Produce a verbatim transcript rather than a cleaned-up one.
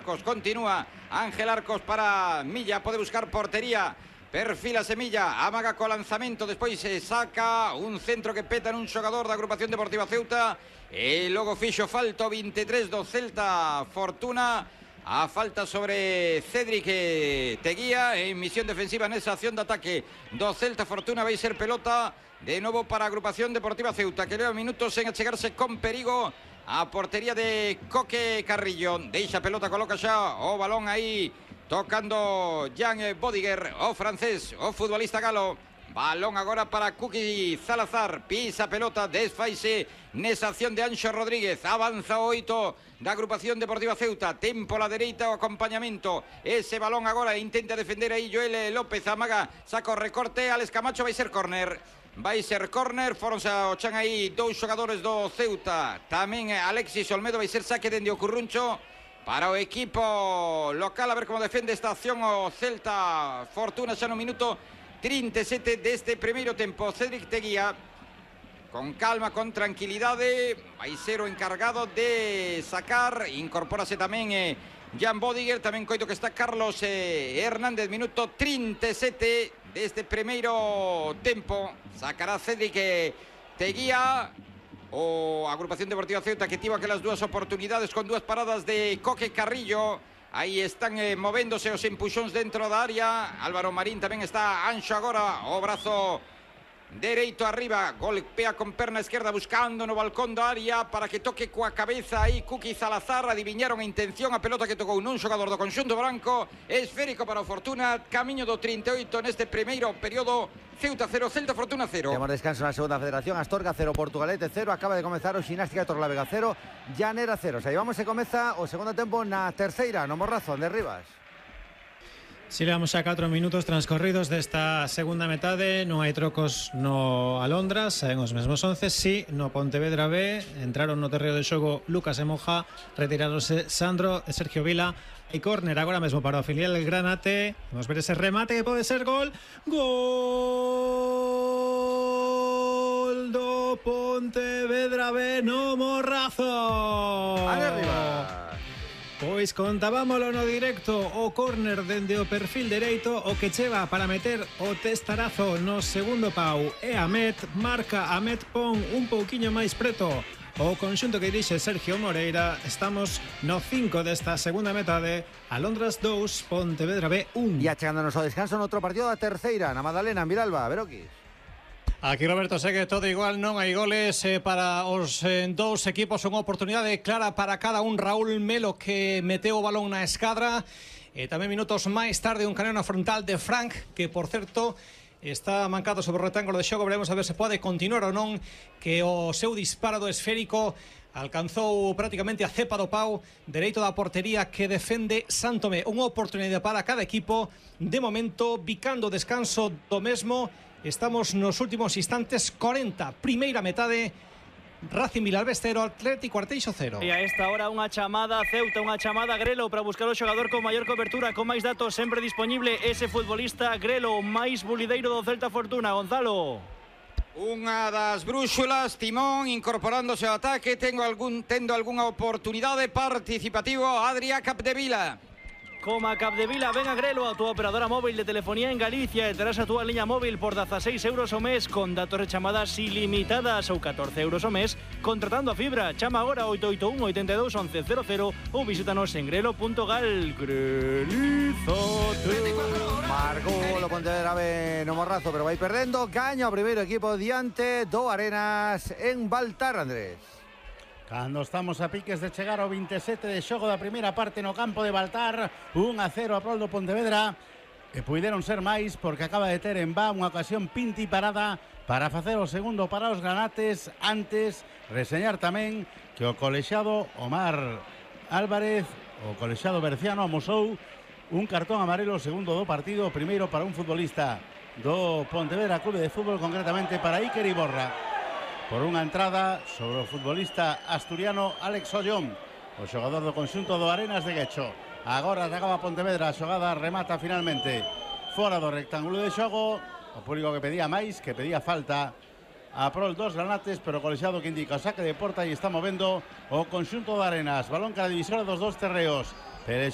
Arcos, continúa Ángel Arcos para Milla, pode buscar portería, perfila Semilla, amaga co lanzamento, despois se saca un centro que peta nun xogador da agrupación deportiva Ceuta, e logo fixo falta vinte e tres do Celta Fortuna, a falta sobre Cédric Teguía en misión defensiva nesa acción de ataque do Celta Fortuna. Vai ser pelota de novo para a agrupación deportiva Ceuta, que leva minutos en achegarse con perigo a portería de Coque Carrillo. Deixa pelota, coloca xa o balón aí tocando Jan Bodiger, o francés, o futbolista galo. Balón agora para Kuki Salazar, pisa pelota, desfaise nesa acción de Anxo Rodríguez, avanza o oito da agrupación deportiva Ceuta, tempo a la dereita, o acompañamento, ese balón agora intenta defender aí Joel López, amaga, saca o recorte, Alex Camacho, vai ser córner. Vai ser córner, foronse ao chan aí dous xogadores do Ceuta. Tamén Alexis Olmedo, vai ser saque dende o Curruncho para o equipo local. A ver como defende esta acción o Celta Fortuna xa no minuto trinta e sete deste primeiro tempo. Cédric Teguía con calma, con tranquilidade, vai ser o encargado de sacar. Incorpórase tamén eh, Jan Bodiger, tamén coito que está Carlos eh, Hernández. Minuto trinta e sete deste primeiro tempo. Sacará Cédric Teguía, o agrupación deportiva Ceuta, que tivo aquelas dúas oportunidades con dúas paradas de Coque Carrillo. Aí están eh, movéndose os empuxóns dentro da área. Álvaro Marín tamén está anxo agora, o brazo dereito arriba, golpea con perna esquerda buscando no balcón da área para que toque coa cabeza aí Kuki Salazar. Adiviñaron a intención, a pelota que tocou nun xogador do conxunto branco, esférico para o Fortuna, camiño do trinta e oito neste primeiro período. Ceuta cero, Celta Fortuna cero. Temos descanso na segunda federación. Astorga cero, Portugalete cero. Acaba de comezar o Ximnástica de Torlavega cero, Llanera cero. Xa llevamos e comeza o segundo tempo na terceira, no Morrazo, de Rivas. Si levamos xa catro minutos transcorridos desta segunda metade, non hai trocos no Alondras, en os mesmos once, si no Pontevedra B entraron no terreo de xogo Lucas e Moja, retiráronse Sandro e Sergio Vila, e córner agora mesmo para o filial Granate. Vamos ver ese remate que pode ser gol. Gol do Pontevedra B no Morrazo. ¡Ale arriba! Pois contábamolo no directo, o córner dende o perfil dereito, o que cheva para meter o testarazo no segundo pau e Amet, marca Amet, pon un pouquiño máis preto o conxunto que dirixe Sergio Moreira. Estamos no cinco desta segunda metade, Alondras dous, Pontevedra B un. E achegándonos ao descanso noutro partido da terceira, na Madalena, en Viralba, Veroquis. Aquí Roberto segue todo igual, non hai goles eh, para os eh, dous equipos, unha oportunidade clara para cada un. Raúl Melo que meteu o balón na escadra, e tamén minutos máis tarde un caneo na frontal de Frank, que por certo está mancado sobre o retángulo de xogo. Veremos a ver se pode continuar ou non, que o seu disparo do esférico alcanzou prácticamente a cepa do pau dereito da portería que defende Santomé. Unha oportunidade para cada equipo, de momento bicando o descanso do mesmo. Estamos nos últimos instantes, cuarenta, primeira metade. Racing Vilalbés cero, Atlético Arteixo cero. E a esta hora unha chamada Ceuta, unha chamada Grelo para buscar o xogador con maior cobertura, con máis datos sempre disponible, ese futbolista Grelo, máis bulideiro do Celta Fortuna. Gonzalo. Unha das brúxulas, Timón incorporándose ao ataque, tengo algún, tendo algunha oportunidade, participativo Adrià Capdevila. Coma Capdevila, ven a Grelo, a túa operadora móvil de telefonía en Galicia, e terás a túa liña móvil por dezaseis euros ao mes con datos de chamadas ilimitadas, ou catorce euros ao mes contratando a fibra. Chama agora oito oito un, oito dos, once cero cero ou visítanos en grelo punto gal. Grelizote. Marcou o Pontevedra B no Morrazo, pero vai perdendo. Gaña o primeiro equipo diante do Arenas en Baltar, Andrés. Cando estamos a piques de chegar ao vinte e sete de xogo da primeira parte no campo de Baltar, un a cero a prol do Pontevedra, e puideron ser máis porque acaba de ter en va unha ocasión pinti parada para facer o segundo para os granates. Antes, reseñar tamén que o colexiado Omar Álvarez, o colexiado berciano, amosou un cartón amarelo segundo do partido, primeiro para un futbolista do Pontevedra Clube de Fútbol, concretamente para Iker Iborra, por unha entrada sobre o futbolista asturiano Alex Ollón, o xogador do conxunto do Arenas de Guecho. Agora atacaba Pontevedra, a xogada remata finalmente fora do rectángulo de xogo. O público que pedía máis, que pedía falta a prol dos granates, pero o colexiado que indica o saque de porta e está movendo o conxunto do Arenas. Balón cara divisora dos dos terreos.